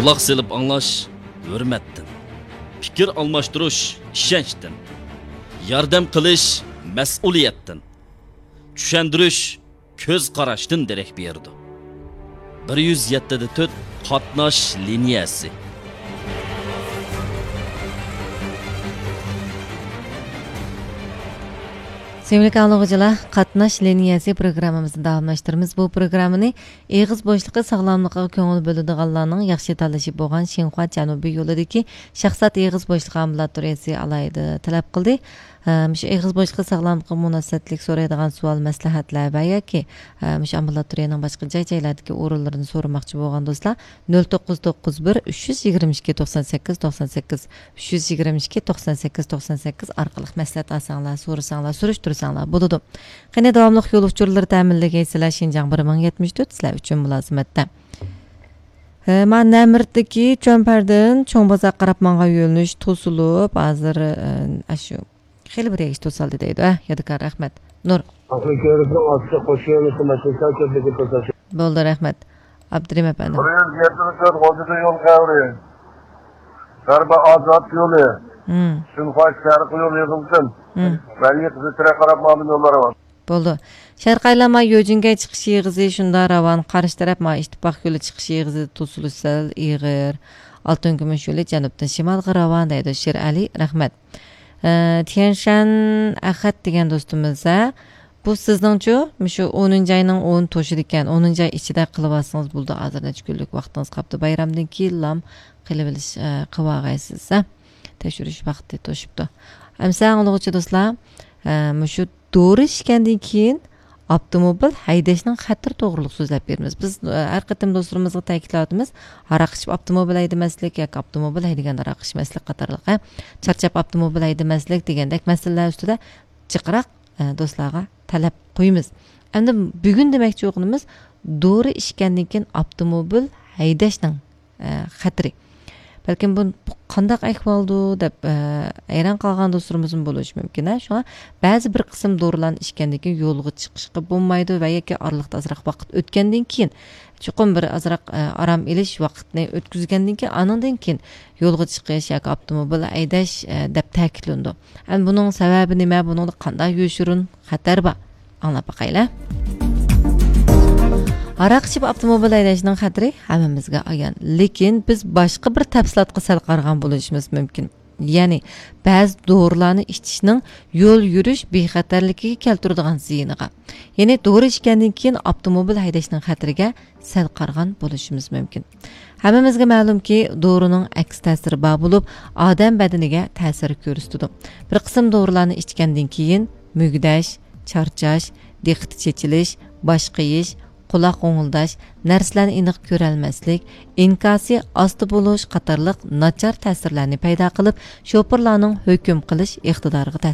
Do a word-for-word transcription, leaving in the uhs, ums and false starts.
قۇلاق سېلىپ ئاڭلاش ھۆرمەتتىن، پىكىر ئالماشتۇرۇش ئىشەنچتىن، ياردەم قىلىش مەسئۇلىيەتتىن، چۈشەندۈرۈش كۆز قاراشتىن دېرەك بېرىدۇ. بىر يۈز يەتتە دە تۆت قاتناش لىنىيەسى. سۆيۈملۈك ئاڭلىغۇچىلار، قاتناش لىنىيەسى پروگراممىمىزنى داۋاملاشتۇرىمىز. بۇ پروگراممىنى ئېغىز بوشلۇقى ساغلاملىقىغا كۆڭۈل بۆلىدىغانلارنىڭ ياخشى تاللىشى بولغان شىنخۇا جەنۇبىي يولىدىكى شاھزات ئېغىز بوشلۇقى ئامبۇلاتورىيەسى ئالاھىدە تەلەپ قىلدى. ئە، مۇشۇ ئېغىز بوشلۇقى ساغلاملىقىغا مۇناسىۋەتلىك سورايدىغان سوئال، مەسلىھەتلەر ۋە ياكى، ئە، مۇشۇ ئامبۇلاتورىيەنىڭ باشقا جاي-جايلاردىكى ئورۇنلىرىنى سورىماقچى بولغان دوستلار، نۆل توققۇز توققۇز بىر، ئۈچ يۈز يىگىرمە ئىككى، توقسان سەككىز، توقسان سەككىز، ئۈچ يۈز يىگىرمە ئىككى، توقسان سەككىز، توقسان سەككىز ئارقىلىق مەسلىھەت ئالساڭلار، سورىساڭلار، سۈرۈشتۈرسەڭلار بولىدۇ. قېنى، داۋاملىق يول ئۇچۇرلىرى تەمىنلىگەيسىلەر، شىنجاڭ بىر مىڭ يەتمىش تۆت سىلەر ئۈچۈن مۇلازىمەتتە. ھە، مانا نەمىرتتىكى چۆمپەردىن چوڭ بازار قاراپ ماڭغان يۆنىلىش توسۇلۇپ، ھازىر، ئە، ئاشۇ خېلى بىر يەرگىچە توسالدى دەيدۇ، ھە، يادىكار، رەھمەت. نۇر. ئاخىرى كۆرۈپلا ئاستى قوشۇۋېلىشقا مەسىلە كۆپلۈكى توساش. بولدى، رەھمەت. ئابدۇرېھىم ئەپەندىم. بىر يۈز يەتمىش تۆت غوجىدا يول خەۋىرى. غەربىي ئازاد يولى. ھىم. شىنخۇا شەرقىي يول يىغىلسۇن. ھىم. ۋەلى قىزىل تىرەك قاراپ ماڭىدۇ يوللار بار. بولدى. شەرقىي ئايلانما يۆجىنگەي چىقىش يېغىزى شۇنداق راۋان، قارشى تەرەپ ما ئىتتىپاق يولى چىقىش يېغىزى توسۇلۇش سەل ئېغىر. ئالتۇن كۈمۈش يولى جەنۇبتىن شىمالغا راۋان دەيدۇ شېرئەلى، رەھمەت. ئە، تيەنشەن ئەخەت دېگەن دوستىمىز، ھە؟ بۇ سىزنىڭچۇ؟ مۇشۇ ئونىنچى ئاينىڭ ئونى توشىدىكەن. ئونىنچى ئاي ئىچىدە قىلىۋالسىڭىز بولىدۇ. ھازىر نەچچە كۈنلۈك ۋاقتىڭىز قاپتۇ. بايرامدىن كېيىنلام قىلىۋېلىش، ئە، قىلىۋالغايسىز، ھە؟ تەكشۈرۈش ۋاقتى توشۇپتۇ. ئەمسە ئاڭلىغۇچى دوستلار، ئە، مۇشۇ دورا ئىچكەندىن كېيىن ئاپتوموبىل ھەيدەشنىڭ خەتىرى توغرۇلۇق سۆزلەپ بېرىمىز. بىز، ئە، ھەر قېتىم دوستلىرىمىزغا تەكىتلەۋاتىمىز، ھاراق ئىچىپ ئاپتوموبىل ھەيدىمەسلىك ياكى ئاپتوموبىل ھەيدىگەندە ھاراق ئىچمەسلىك قاتارلىق، ھە، چارچاپ ئاپتوموبىل ھەيدىمەسلىك دېگەندەك مەسىلىلەر ئۈستىدە جىقراق، ئە، دوستلارغا تەلەپ قويىمىز. ئەمدى بۈگۈن دېمەكچى بولغىنىمىز دورا ئىچكەندىن كېيىن ئاپتوموبىل ھەيدەشنىڭ، ئە، خەتىرى. بەلكىم بۇ، بۇ قانداق ئەھۋالدۇ دەپ، ئە، ھەيران قالغان دوستلىرىمىزمۇ بولۇشى مۇمكىن، ھە. شۇڭا بەزى بىر قىسىم دورىلارنى ئىچكەندىن كېيىن يولغا چىقىشقا بولمايدۇ ۋە ياكى ئارىلىقتا ئازراق ۋاقىت ئۆتكەندىن كېيىن، چوقۇم بىر ئازراق، ئە، ئارام ئېلىش ۋاقتىنى ئۆتكۈزگەندىن كېيىن، ئانىڭدىن كېيىن يولغا چىقىش ياكى ئاپتوموبىل ھەيدەش، ئە، دەپ تەكىتلىنىدۇ. ئەمدى بۇنىڭ سەۋەبى نېمە؟ بۇنىڭدا قانداق يوشۇرۇن خەتەر بار؟ ئاڭلاپ باقايلى. ھاراق ئىچىپ ئاپتوموبىل ھەيدەشنىڭ خەتىرى ھەممىمىزگە ئايان. لېكىن بىز باشقا بىر تەپسىلاتقا سەل قارىغان بولۇشىمىز مۇمكىن. يەنى بەزى دورىلارنى ئىچىشنىڭ يول يۈرۈش بىخەتەرلىكىگە كەلتۈرىدىغان زىيىنىغا. يەنى دورا ئىچكەندىن كېيىن ئاپتوموبىل ھەيدەشنىڭ خەتىرىگە سەل قارىغان بولۇشىمىز مۇمكىن. ھەممىمىزگە مەلۇمكى، دورىنىڭ ئەكس تەسىرى بار بولۇپ، ئادەم بەدىنىگە تەسىر كۆرسىتىدۇ. بىر قىسىم دورىلارنى ئىچكەندىن كېيىن مۈگدەش، چارچاش، دىققىتى چېچىلىش، باش قېيىش، قۇلاق غوڭۇلداش، نەرسىلەرنى ئېنىق كۆرەلمەسلىك، ئىنكاسى ئاستا بولۇش قاتارلىق ناچار تەسىرلەرنى پەيدا قىلىپ، شوپۇرلارنىڭ ھۆكۈم قىلىش ئىقتىدارىغا تەسىر